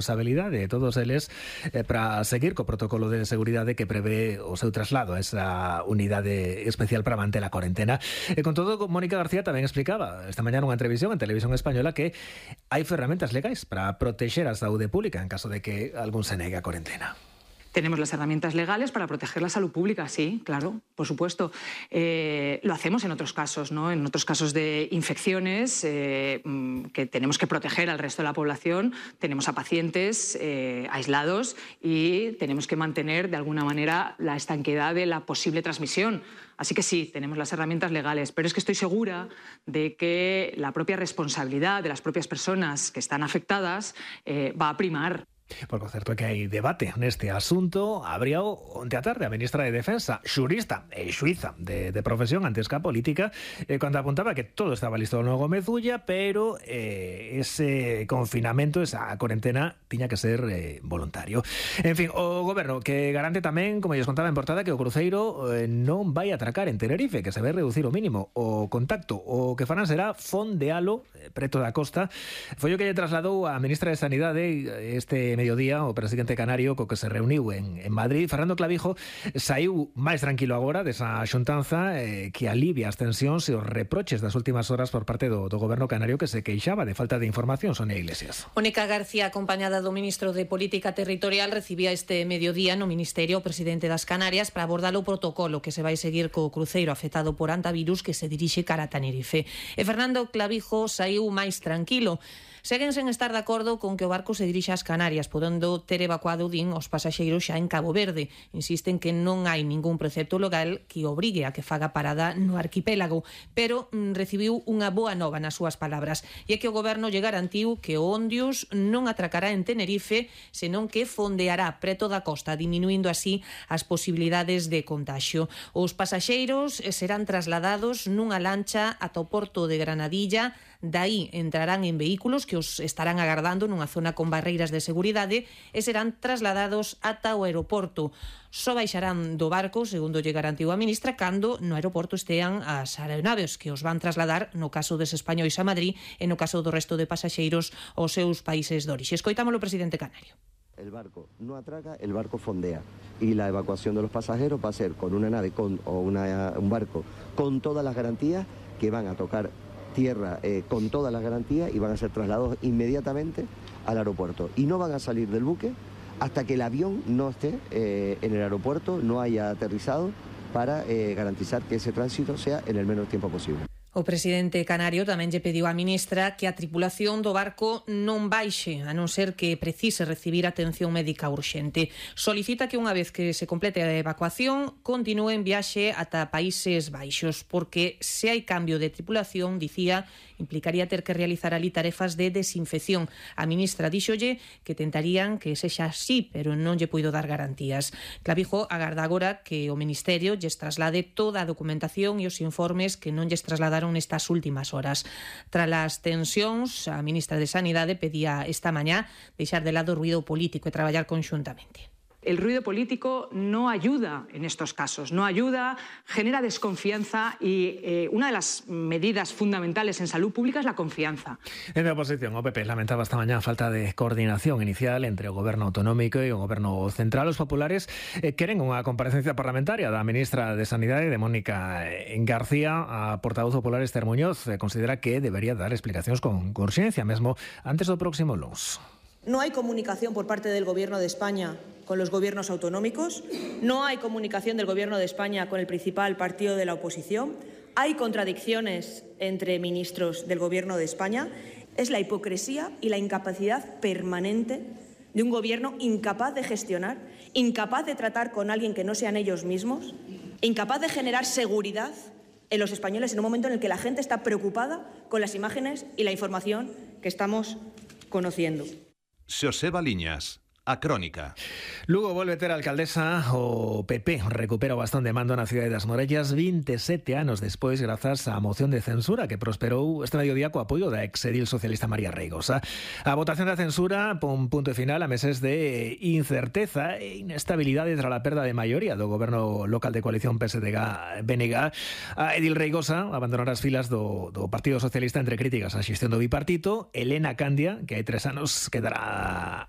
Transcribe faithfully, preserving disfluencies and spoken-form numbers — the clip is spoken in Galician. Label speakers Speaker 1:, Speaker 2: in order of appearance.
Speaker 1: responsabilidade de todos eles eh, para seguir co protocolo de seguridade que prevé o seu traslado a esa unidade especial para manter a cuarentena. E con todo, Mónica García tamén explicaba esta mañá nunha entrevisión en Televisión Española que hai ferramentas legais para protexer a saúde pública en caso de que algún se negue a cuarentena.
Speaker 2: Tenemos las herramientas legales para proteger la salud pública, sí, claro, por supuesto. Eh, lo hacemos en otros casos, ¿no? En otros casos de infecciones eh, que tenemos que proteger al resto de la población, tenemos a pacientes eh, aislados y tenemos que mantener de alguna manera la estanqueidad de la posible transmisión. Así que sí, tenemos las herramientas legales, pero es que estoy segura de que la propia responsabilidad de las propias personas que están afectadas eh, va a primar.
Speaker 1: Por certo que hai debate neste asunto. Habría onte a tarde a ministra de Defensa, xurista e xuíza de, de profesión antes que a política, eh, cando apuntaba que todo estaba listo no Gómez Ulla, pero eh, ese confinamento, esa cuarentena, tiña que ser eh, voluntario. En fin, o goberno que garante tamén, como lles contaba en portada, que o cruceiro eh, non vai atracar en Tenerife, que se vai reducir o mínimo o contacto. O que farán será fondealo eh, preto da costa. Foi o que lle trasladou a ministra de Sanidade este mediodía o presidente canario co que se reuniu en, en Madrid. Fernando Clavijo saiu máis tranquilo agora desa xuntanza eh, que alivia as tensións e os reproches das últimas horas por parte do, do goberno canario, que se queixaba de falta de información. Sonia Iglesias.
Speaker 3: Mónica García, acompañada do ministro de Política Territorial, recibía este mediodía no Ministerio o presidente das Canarias para abordar o protocolo que se vai seguir co cruceiro afectado por antivirus que se dirixe cara a Tenerife. E Fernando Clavijo saiu máis tranquilo. Seguen sen estar de acordo con que o barco se dirixa ás Canarias, podendo ter evacuado, din, os pasaxeiros xa en Cabo Verde. Insisten que non hai ningún precepto legal que obrigue a que faga parada no arquipélago, pero mm, recibiu unha boa nova nas súas palabras, e é que o goberno lle garantiu que o Ondius non atracará en Tenerife, senón que fondeará preto da costa, diminuindo así as posibilidades de contagio. Os pasaxeiros serán trasladados nunha lancha ata o porto de Granadilla, dai entrarán en vehículos que os estarán agardando nunha zona con barreiras de seguridade e serán trasladados ata o aeroporto. Só baixarán do barco, segundo lle garantiu a ministra, cando no aeroporto estean as aeronaves que os van trasladar, no caso des españois a Madrid e no caso do resto de pasaxeiros aos seus países de orixe. Escoitámolo o presidente canario.
Speaker 4: El barco no atraca, el barco fondea y la evacuación de los pasajeros va a ser con una nave con, o una, un barco con todas las garantías que van a tocar tierra eh, con todas las garantías y van a ser trasladados inmediatamente al aeropuerto y no van a salir del buque hasta que el avión no esté eh, en el aeropuerto, no haya aterrizado, para eh, garantizar que ese tránsito sea en el menor tiempo posible.
Speaker 3: O presidente canario tamén lle pediu á ministra que a tripulación do barco non baixe, a non ser que precise recibir atención médica urxente. Solicita que unha vez que se complete a evacuación continúe en viaxe ata Países Baixos, porque se hai cambio de tripulación, dicía, implicaría ter que realizar ali tarefas de desinfección. A ministra díxolle que tentarían que sexa así, pero non lle puido dar garantías. Clavijo agarda agora que o Ministerio lles traslade toda a documentación e os informes que non lles trasladaron nestas últimas horas. Tras as tensións, a ministra de Sanidade pedía esta mañá deixar de lado o ruido político e traballar conxuntamente.
Speaker 2: El ruido político no ayuda en estos casos, no ayuda, genera desconfianza y eh, una de las medidas fundamentales en salud pública es la confianza.
Speaker 1: En la oposición, o P P lamentaba esta mañana falta de coordinación inicial entre o goberno autonómico e o goberno central. Os populares eh, queren unha comparecencia parlamentaria da ministra de Sanidade, de Mónica García. A portavoz popular Esther Muñoz eh, considera que debería dar explicacións con, con urxencia, mesmo antes do próximo luns.
Speaker 5: No hay comunicación por parte del Gobierno de España con los gobiernos autonómicos, no hay comunicación del Gobierno de España con el principal partido de la oposición, hay contradicciones entre ministros del Gobierno de España. Es la hipocresía y la incapacidad permanente de un Gobierno incapaz de gestionar, incapaz de tratar con alguien que no sean ellos mismos, incapaz de generar seguridad en los españoles en un momento en el que la gente está preocupada con las imágenes y la información que estamos conociendo.
Speaker 6: Xosé Baliñas, a Crónica.
Speaker 1: Lugo volve ter a alcaldesa. O P P recupera o bastón de mando na cidade das Morellas veintisiete anos despois, grazas á moción de censura que prosperou este mediodía co apoio da exedil socialista María Reigosa. A votación da censura pon punto final a meses de incerteza e inestabilidade tras a perda de maioría do goberno local de coalición P S D G B N G. A Edil Reigosa abandonará as filas do, do Partido Socialista entre críticas á xestión do bipartito. Elena Candia, que hai tres anos quedará